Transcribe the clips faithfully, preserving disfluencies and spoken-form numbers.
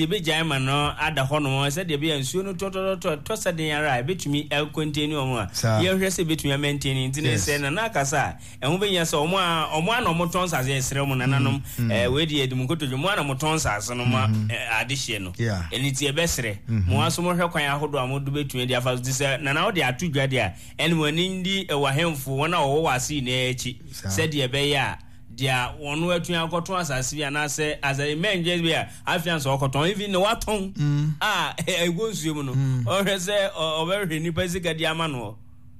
Yɛbɛgyae ma no ada hɔnom sɛdeɛ ɛbɛyɛ a nsuo no tɔtɔtɔtɔ tɔ sɛ den ara a ɛbɛtumi akɔntɛni wɔn a Saa. yɛhwɛ sɛ ɛbɛtumi amɛntɛni. Nti no Yes. sɛ Nana akasa a, ɛho bɛhia sɛ wɔn a wɔn a na wɔtɔn nsase, yɛsrɛ mo nananom, eh, wei deɛ yɛde mo nkotodwe, mo a na motɔn nsase no ma eh, adehyeɛ no. Yeah. Ɛno nti yɛbɛsrɛ mo aso mohwɛ kwan ahodoɔ a mode bɛtumi de afa so. Nti sɛ Nana wode ato dwa deɛ a, ɛne mo ani ndi wɔ ahemfo, wɔn a wɔwɔ wɔ ase nyinaa akyi Saa. sɛdeɛ ɛbɛyɛ a deɛ wɔn atumi akɔtɔn asase bi anaasɛ asase mmɛngye bi a afei ansa ɔkɔtɔn, even na watɔn a ɛwɔ nsuo mu no, ɔhwɛ sɛ ɔbɛhwɛ nipa sika di ama no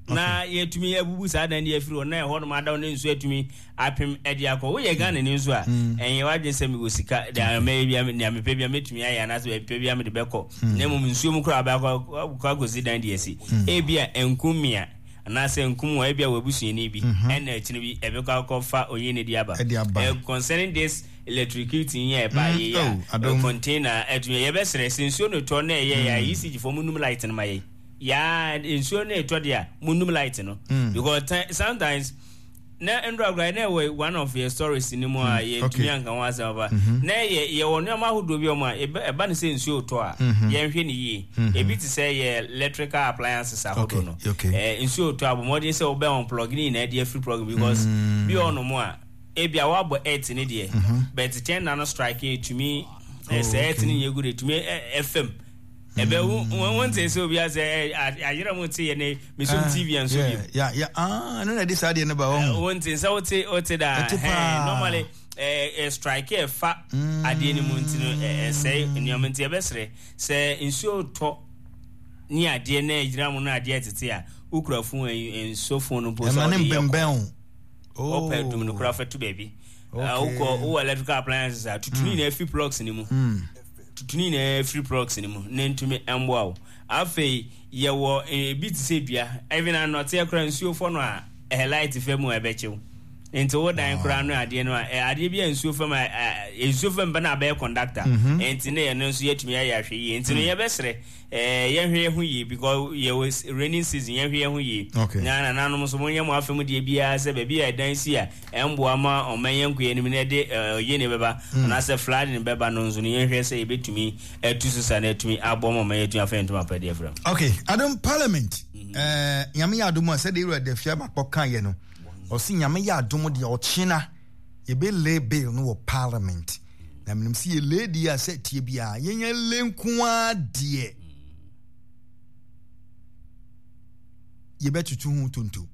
na yɛtumi abubu saa dan de afiri hɔ na ɛhɔ nom adaw ne nsuo atumi apem ɛde akɔ. Woyɛ Ghana ni nso a, ɛnyɛ wadwene sɛ mewɔ sika deɛ mɛyɛ bia, nea mepɛ bia mɛtumi ayɛ anaasɛ mepɛ bia mede bɛkɔ, na mmom nsuo mu koraa bɛakɔ akɔsi dan de asi, ebi a nkum mmea anaasɛ nkum wɔ ebi a w'abusuani bi ɛna akyire bi ɛbɛkɔ akɔfa onye ne de aba. Ɛde aba. Eh, concerning this electricity yi a ɛba yɛ oh, a adom. Container ɛtumi, yɛbɛsrɛ sɛ nsuo no tɔ na ɛyɛ yɛ a, E C G fo mo num light no ma yɛ yaa, nsuo no ɛtɔ deɛ a mo num light no, because ti- sometimes na ndura kura na ɛwɔ one of your stories ni mu a yɛntumi okay. anka ho asɛm aba na yɛ yɛwɔ nneɛma ahodoɔ bi wɔ mu a ɛbɛ- ɛba ne sɛ nsuo tɔ a, yɛnhwɛ ne yie. Ebi te sɛ yɛ electrical appliances ahodoɔ no, Okay, okay. Eh, nsuo tɔ a, bɔ mmɔden sɛ wobɛ unplug ne nyinaa de afiri plug, because bi wɔ nom a ebi a wabɔ earth ne deɛ, but kyɛn na no strike etumi Oh, sɛ earth okay. ne nyɛ good, etumi ɛfam ɛbɛ wo wo nte sɛ obi asɛ ayerɛ mo te yɛ ne mesum T V nso bi. Yeah, yeah. Ah, ɛno na ɛde saa deɛ no ba wɔn. Wo nte sɛ wote wote da. Ɛte ɛhɛn, paa. Normally eh, eh, strike ɛfa adeɛ no mu nti no eh, ɛsɛe nneɛma, nti ɛbɛsrɛ sɛ nsuo tɔ ne adeɛ na ɛgyina mu no, adeɛ tete a wokura phone, eh, nsuo phone no mpo sɛ ɛma ne wode yɛ mbɛnbɛn o. wopɛ dum no koraa fa to baabi. Okay. Ah, wokɔ wowɔ electrical appliances a, tutu ne nyinaa firi plugs no mu, tutu ne nyinaa firi plugs no mu na ntumi mboa wo. Afei yɛwɔ eh, ebi te sɛ dua, even anɔteɛ koraa nsuo fɔ no a, ɛhɛ light fɛ mu a ɛbɛkyew, nti wo dan koraa no adeɛ no a ɛ, adeɛ bi a nsuo fam a ɛ, nsuo fam bɛ na abɛyɛ conductor, nti ne yɛno nso yɛtumi ayɛ ahwɛ yie. Nti no yɛbɛsrɛ ɛɛ yɛhwɛ yɛn ho yie because yɛwɔ s- raining season, yɛhwɛ yɛn ho yie. Okay. Na nananom nso monyɛ mo afɛm deɛ biara sɛ baabi a ɛdan si a ɛmboa ma ɔman yɛn nkɔ anim na ɛde ɛɛ ɔyɛ ne bɛba anaasɛ flooding bɛba no nso no, yɛnhwɛ sɛ yɛbɛtumi atu so sa na atumi aboa ma ɔman yɛatumi afa yɛn ntoma pɛ deɛ frɛ. Okay, adom parliament, eh, Nyame yɛ adom a, sɛdeɛ Ewura Dafia Makpɔ kaeɛ no, ɔse Nyame yɛ adom deɛ ɔkyena yɛbɛlay bill no wɔ parliament, na menim sɛ yɛlay deɛ a sɛ tie biara yɛnya lay nko ara deɛ yɛbɛtutu ho tonto,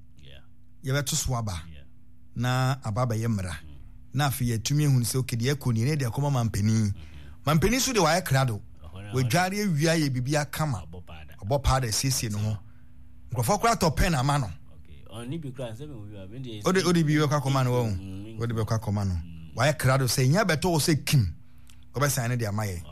yɛbɛto so aba na aba bɛyɛ mmara, na afei yɛatumi ahunu sɛ okay, deɛ ɛkɔ nie ne deɛ ɛkɔma mampanin. Mampanin so deɛ wayɛ krado, wadware awia, yɛ biribi akama, ɔbɔ paada, asiesie ne ho, nkurɔfoɔ koraa tɔ pɛn ama no. Wode wode bi bɛkɔ akɔma no, wɔn wode bɛkɔ akɔma no, wayɛ krado sɛ nya bɛtɔ wɔ sɛ kim wɔbɛsan ne de ama yɛ,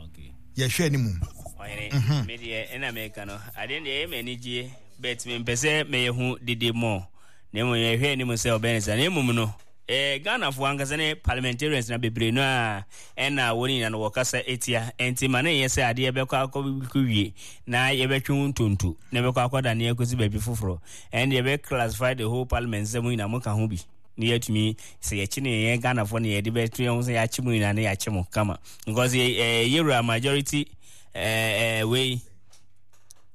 yɛhwɛ anim. Ɔhene, me deɛ ɛna meka no, adeɛ deɛ ɛyɛ m'ani gyeɛ, but mempɛ sɛ mɛyɛ ho dede mɔ, na mmom yɛhwɛ anim sɛ ɔbɛyɛ ne saa. Na mmom no eh, Ghanafoɔ ankasa ne parliamentarians na bebree no a ɛna wɔn nyinaa no wɔkasa etia, nti ma ne nyɛ sɛ adeɛ bɛkɔ akɔ wie na yɛbɛtwe ho ntonto na bɛkɔ akɔda ne akɔsi baabi foforɔ, ɛnde yɛbɛ classify the whole parliament sɛ mo nyinaa mo ka ho bi ne yɛatumi sɛ yɛkye ne yɛn Ghanafoɔ ne yɛde bɛto yɛn ho sɛ yɛakye mo nyinaa ne yɛakye mo kama, because yɛ yɛwura majority ɛɛ ɛɛ wei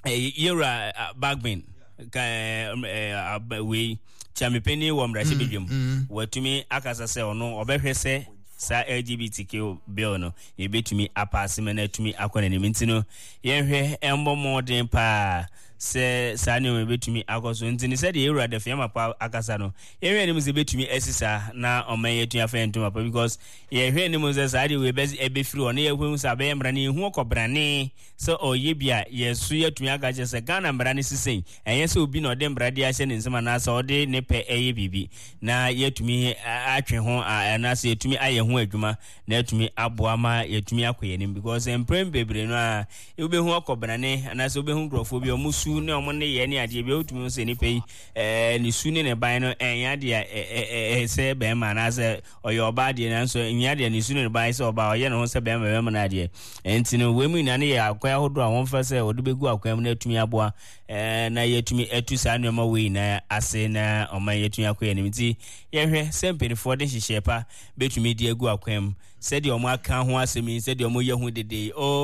yɛwura Bagbin ka ɛɛ wei kyamipani wɔ mmarahyɛbadwam, watumi akasa sɛ ɔno ɔbɛhwɛ sɛ saa L G B T Q bill no yɛbɛtumi apaase ma no atumi akɔ n'anim. Nti no yɛnhwɛ ɛmbɔ mmɔden paa sɛ saa nneɛma bɛtumi akɔ so. Nti no sɛdeɛ yɛwura Dafeamekpor pa akasa no, yɛhwɛ anim sɛ bɛtumi asi saa na ɔman yɛatumi afa yɛn ntoma pa, because yɛhwɛ anim sɛ saa deɛ wei ɛbɛfiri hɔ na yɛhu sɛ abɛyɛ mmara no, yɛhu ɔkɔbrane sɛ ɔyɛ bi a, yɛso yɛatumi aka kyerɛ sɛ Ghana mmara no sisɛn, ɛnyɛ sɛ obi na ɔde mmara de ahyɛ ne nsam anaasɛ ɔde ne pɛ ɛyɛ biribi, na yɛatumi atwe ho anaasɛ yɛtumi ayɛ ho adwuma na yɛatumi aboa ma yɛatumi akɔ yɛn anim, because mprɛn bebree no a wobɛhu ɔkɔbrane anaasɛ wobɛhu nkurɔfoɔ bi a ɔmo su su ne wɔn nneyɛɛ ne adeɛ bi wotumi hu sɛ nipa yi ɛɛ ne su ne ne ban no ɛnyɛ adeɛ a ɛsɛ bɛrima anaasɛ ɔyɛ ɔbaa deɛ, nanso ɛnyɛ adeɛ ne su ne ne ban sɛ ɔbaa, ɔyɛ ne ho sɛ bɛrima bɛrima no adeɛ. Nti no wei mu nyinaa no yɛ akwan ahodoɔ a wɔmfa sɛ wɔde bɛgu akwan mu no atumi aboa ɛɛ na yɛatumi atu saa nneɛma wei nyinaa ase na ɔman yɛatumi akɔ yɛn anim. Nti yɛhwɛ sɛ mpanimfoɔ de nhyehyɛe pa bɛtumi de agu akwan mu sɛdeɛ wɔn aka ho asɛm yi, sɛdeɛ wɔn yɛ ho dede yi. Oh.